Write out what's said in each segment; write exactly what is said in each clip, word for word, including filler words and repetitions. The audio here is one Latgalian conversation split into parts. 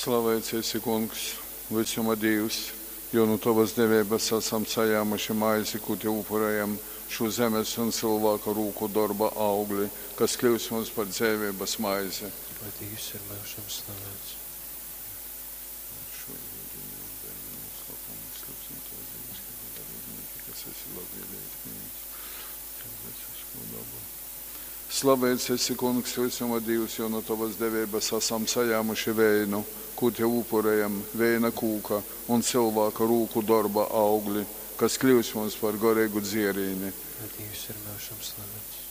Slaveits esi, Kungs, vysuma Dīvs, jo nu tovas deveibas asam sajāmuši maizi, kū tev upurejam, šū zemes un cylvāka rūku dorba augli, kas kļyus mums par dzeiveibas maizi. Lai Dīvs ir myužam slaveits. Šo yudini un veinu noslēpumu izsludinātās dieviskā dalībnieki, kas esi labvēlīgi pieņemts cilvēcisko dabu. Slaveits esi, Kungs, visuma Dīvs, jo no tavas deveibas esam sajāmuši veinu, kū tev upurējam, veina kūka un cilvēka rūku darba augli, kas kļūs mums par garīgu dzierīni. Lai Dīvs ir myužam slaveits.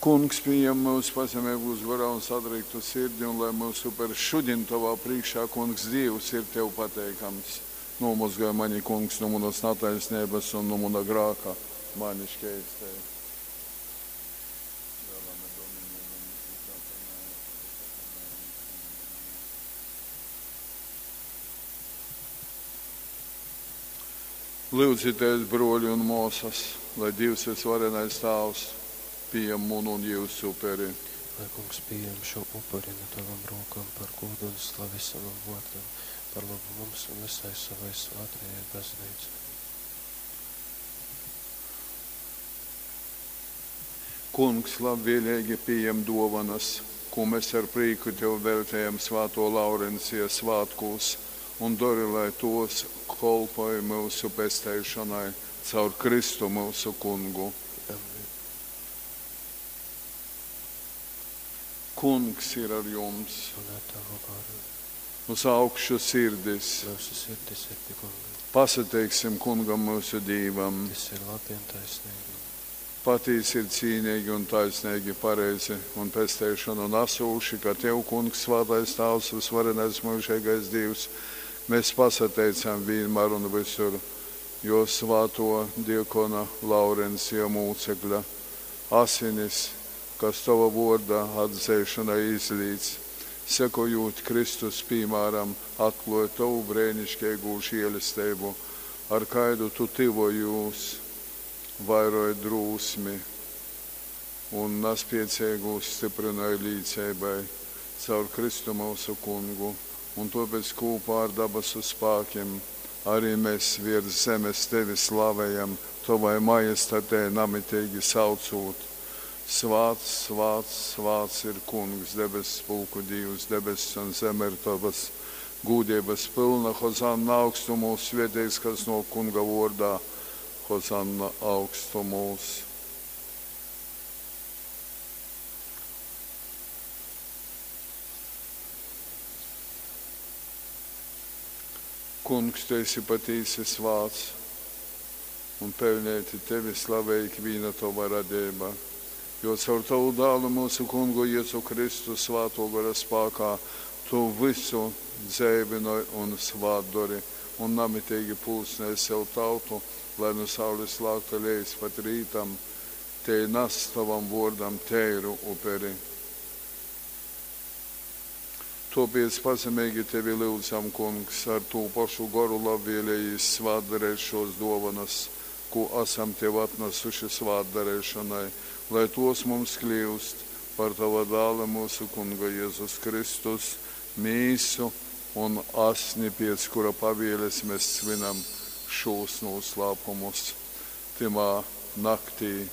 Kungs, pieņem mūsu pazemīgus gorā un sadrīktu sirdi, un lai mūsu upers šodien tavā priekšā, Kungs, Dievs, ir tev pateikams. Nomazgāj mani, Kungs, no manas netaisnības un no mana grāka, mani šķeistē. Lūdzieties, broļi un māsas, lai Dievs visvarenais Tāvs pieņem munu un jūsu uperi. Lai Kungs pieņem šo upuri no tavam rokām par godu un slavi savam vārdam, par labu mums un visai savai svētajai baznīcai. Kungs labvēlīgi pieņem dovanas, ko mēs ar prieku tev veltējam Svēto Laurencija svētkos, un dari, lai tos kolpoja mūsu pesteišanai caur Kristu mūsu kungu. Amen. Kungs ir ar jums, Un ar tavu garu. uz augšu sirdis. Mūsu sirdis ir pie Kunga. Pasateiksim kungam mūsu Dīvam. Tas ir labi un taisnīgi. Patīsi ir cīnīgi un taisnīgi, pareizi un pesteišanu nesūši, ka Tev, Kungs, svētais Tāvs, visvarenais mūžīgais Dievs, mēs pasateicam vienmēr un visur, jo svēto diakona Laurencija mūcekļa asinis, kas tava vorda atzeišanai izlīdz, sekojot Kristus piemēram, atklāja tavu brēnišķīgu žēlastību, ar kaidu tu tivojūs, vairoja drūsmi un naspiecīgūs stiprināja līdzībai caur Kristu mūsu kungu, un tāpēc kopā ar dabasu spēkiem arī mēs virs zemes tevi slavējam, tavai majestatē namitīgi saucot. Svāts, svāts, svāts ir Kungs, debesu pulku Dievs, debesis un zeme ir tavas gūdības pilna, Hozanna augstumos, svētīgs, kas no Kunga vordā, Hozanna augstumos. Kungs, tu esi patīsi svāts, un pelnēti tevi slavē ikviena tava radība, jo caur tavu dālu mūsu kungu Jēzu Kristu svāto gara spākā tu visu dzēvinoj un svātdori, un namitīgi pulsnē sev tautu, lai no saules lākta lejas pat rītam, te nes tavam vārdam tēru uperi. Tāpēc pazemīgi tevi lūdzam, Kungs, ar tū pašu goru labvēlējīs svātdarēt šos dovanas, ko esam tev atnesuši svātdarēšanai, lai tos mums kļūst par tava dāla mūsu Kunga Jēzus Kristus mīsu un asni, pēc kura pavieles mēs svinam šos noslēpumus. Timā naktī,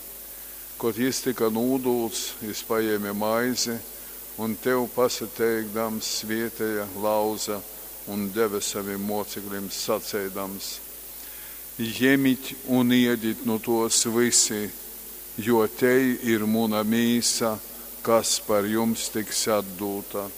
kad jis tika nūdūts, jis paēma maizi un tev pasateikdams svietēja lauza un deva saviem mocekļiem sacēdams: Jemit un iedit no tos visi, jo te ir muna mīsa, kas par jums tiks atdūta.